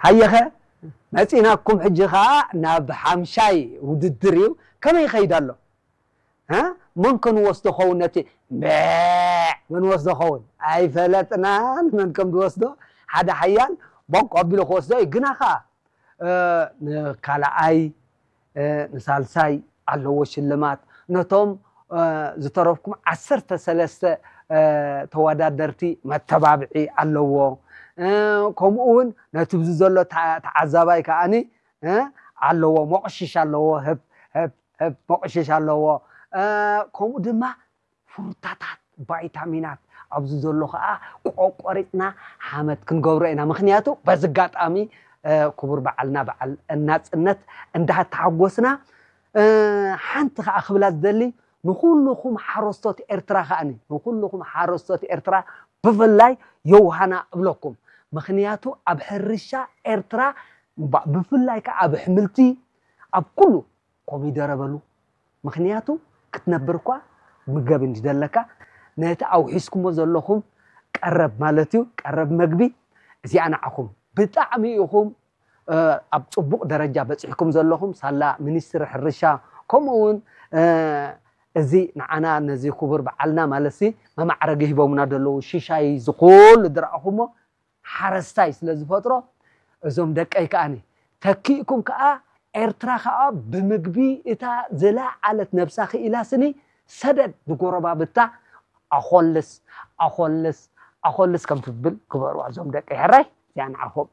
ሃየኸ መፂናኩም ሕጂ ከዓ ናብ ሓምሻይ ውድድር እዩ። ከመይ ይኸይድ ኣሎ? መን ከንወስዶ ኸውን? ነቲ መን ወስዶ ኸውን? ኣይፈለጥናን መን ከም ዝወስዶ። ሓደ ሓያል ቦቅ ኣቢሉ ክወስዶ እዩ። ግና ከዓ ንካልኣይ ንሳልሳይ ኣለዎ ሽልማት። ነቶም ዝተረፍኩም ዓሰርተ ሰለስተ ተወዳደርቲ መተባብዒ ኣለዎ። ከምኡ እውን ነቲ ብዚ ዘሎ ተዓዛባይ ከዓኒ ኣለዎ፣ መቕሽሽ ኣለዎ፣ ህብ ህብ ህብ መቕሽሽ ኣለዎ። ከምኡ ድማ ፍሩታታት፣ ቫይታሚናት ኣብዚ ዘሎ ከዓ ቆቆሪፅና ሓመት ክንገብሮ ኢና። ምክንያቱ በዚ ኣጋጣሚ ክቡር በዓልና በዓል ናፅነት እንዳተሓጎስና ሓንቲ ከዓ ክብላ ዝደሊ ንኩልኩም ሓረስቶት ኤርትራ ከዓኒ ንኩልኩም ሓረስቶት ኤርትራ ብፍላይ የውሃና እብለኩም። ምክንያቱ ኣብ ሕርሻ ኤርትራ ብፍላይ ከዓ ኣብ ኣሕምልቲ ኣብ ኩሉ ኮሚደረ በሉ። ምክንያቱ ክትነብር እኳ ምገብ እንዲ ዘለካ ነቲ ኣውሒስኩሞ ዘለኹም ቀረብ ማለት እዩ ቀረብ መግቢ እዚኣ ንዓኹም ብጣዕሚ ኢኹም ኣብ ፅቡቕ ደረጃ በፂሕኩም ዘለኹም ሳላ ሚኒስትሪ ሕርሻ ከምኡ እውን እዚ ንዓና ነዚ ክቡር በዓልና ማለት ሲ መማዕረጊ ሂቦምና ዘለዉ ሽሻይ ዝኩሉ ዝረኣኹሞ ሓረስታይ ስለ ዝፈጥሮ እዞም ደቀይ ከዓኒ ተኪእኩም ከዓ ኤርትራ ከዓ ብምግቢ እታ ዝለዓለት ነብሳ ክኢላ ስኒ ሰደድ ንጎረባብታ ኣኾልስ ኣኾልስ ኣኾልስ ከም ትብል ግበርዋ እዞም ደቀይ ሕራይ እዚኣ ንዓኹም